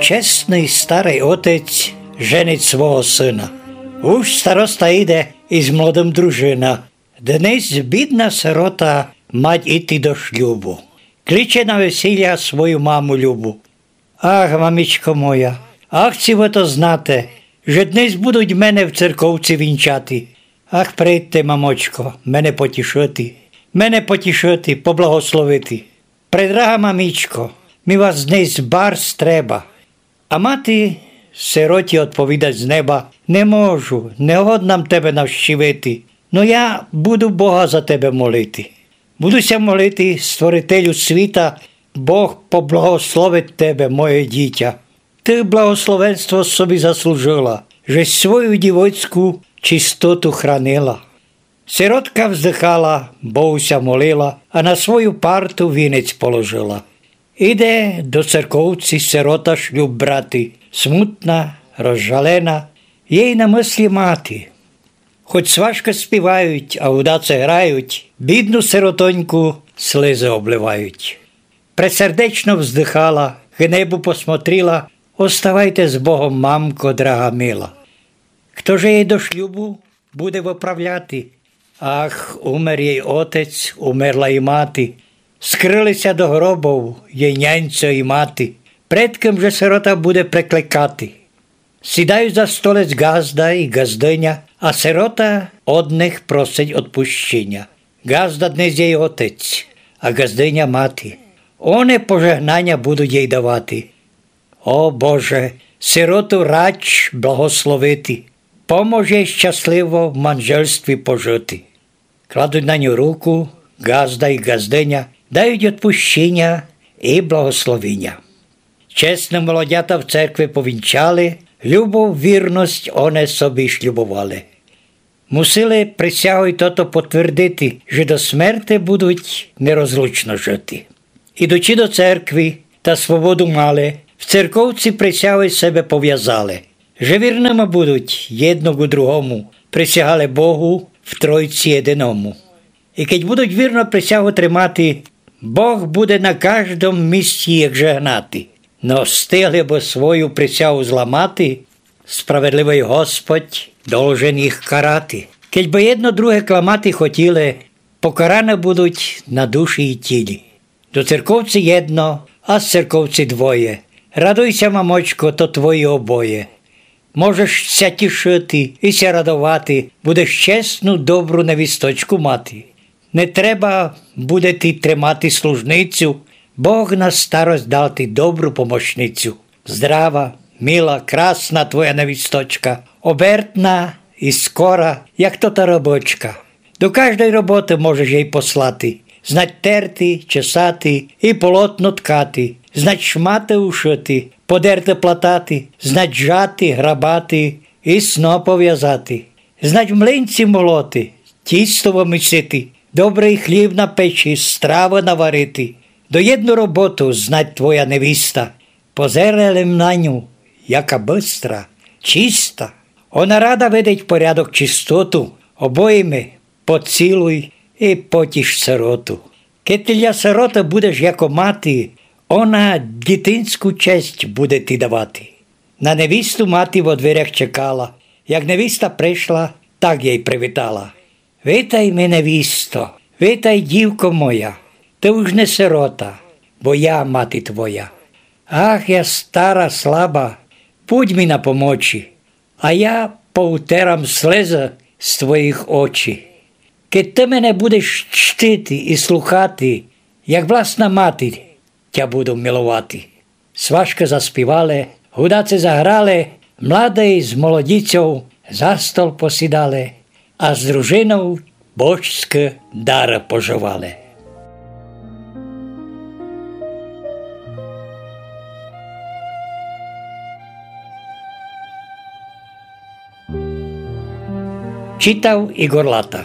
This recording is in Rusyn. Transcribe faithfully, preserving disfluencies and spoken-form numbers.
Чесный старый отець женить свого сына. Уж староста іде из молодым дружына. Днесь бідна сирота мать іти до шлюбу. Кличе на весіля свою маму любу. Ах, мамічко моя, ах, ци вы то знате, же днесь будуть мене в церковци вінчати. Ах, прийдте, мамочко, мене потішити, мене потішити, поблагословити. Предрага мамічко, ми вас днесь барз треба. А мати сироті одповідать з неба: Не можу, не годна м тебе навщивити, но я буду Бога за тебе молити. Буду ся молити Створителю світа, Бог поблагословить тебе, моє дітя. Ты благословенство собі заслужила, же свою дівоцьку чистоту хранила. Сиротка вздыхала, Богу ся молила, а на свою парту вінець положила. Іде до церковци сирота шлюб брати, смутна, розжалена, єй на мыслі мати. Хоть сважкы співають, а гудаці грають, бідну сиротоньку слезы обливають. Пресердечно вздыхала, к небу посмотрила: Оставайте з Богом, мамко драга мила. Хто же єй до шлюбу буде выправляти? Ах, умер єй отець, умерла і мати. Скрыли ся до гробов єй няньцьо і мати. Пред кым же сирота буде прекликати? Сідають за столець ґазда і ґаздыня, а сирота од них просить одпущіня. Ґазда днесь єй отець, а ґаздыня мати. Они пожегнаня будуть єй давати. О Боже, сироту рач благословити. Помож єй щасливо в манжельстві пожити. Кладуть на ню руку, ґазда і ґаздыня, дають одпущіня і благословіня. Чесны молодята в церкви повінчали, любов, вірность они собі шлюбовали. Мусили присягой тото потвердити, же до смерти будуть нерозлучно жити. Ідучи до церкви, та свободу мали, в церковци присягой себе повязали, же вірныма будуть єдно ку другому, присягали Богу в Тройци єдиному. І кедь будуть вірно присягу тримати, Бог буде на каждом місці їх жегнати. Но встигли бы свою присягу зламати, справедливый Господь должен їх карати. Кедь бы єдно друге кламати хотіли, покараны будуть на душі і тілі. До церковци єдно, а з церковци двоє. Радуй ся, мамочко, то твої обоє. Можеш ся тішити і ся радовати, будеш чесну, добру невісточку мати. Не треба буде ти тримати служницю, Бог на старость дав ти добру помощницю. Здрава, мила, красна твоя невісточка, обертна і скора, як тота рыбочка. До каждой роботы можеш єй послати, знать терти, чесати і полотно ткати, знать шматы ушыти, подерты платати, знать жати, грабати і сноп повязати, знать млинці молоти, тісто вымісити, добрый хліб напечи, стравы наварити. До єдну роботу знать твоя невіста. Позирай лем на ню, яка быстра, чиста. Она рада видить порядок, чистоту. Обойми, поцілуй і потіш сироту. Кед ты для сироты будеш яко мати, она дітинську честь буде ти давати. На невісту мати во дверях чекала. Як невіста пришла, так єй привітала: Витай ми, невісто, витай, дівко моя, ты уж не сирота, бо я мати твоя. Ах, я стара, слаба, будь ми на помочи, а я поутерам слезы з твоїх очи. Кед ты мене будеш чтити і слухати, як власна мати тя буду миловати. Сважкы заспівали, гудаци заграли, младый з молодицьов за стол посідали, а з дружинов божськы дары пожывали. Читав Ігор Лата.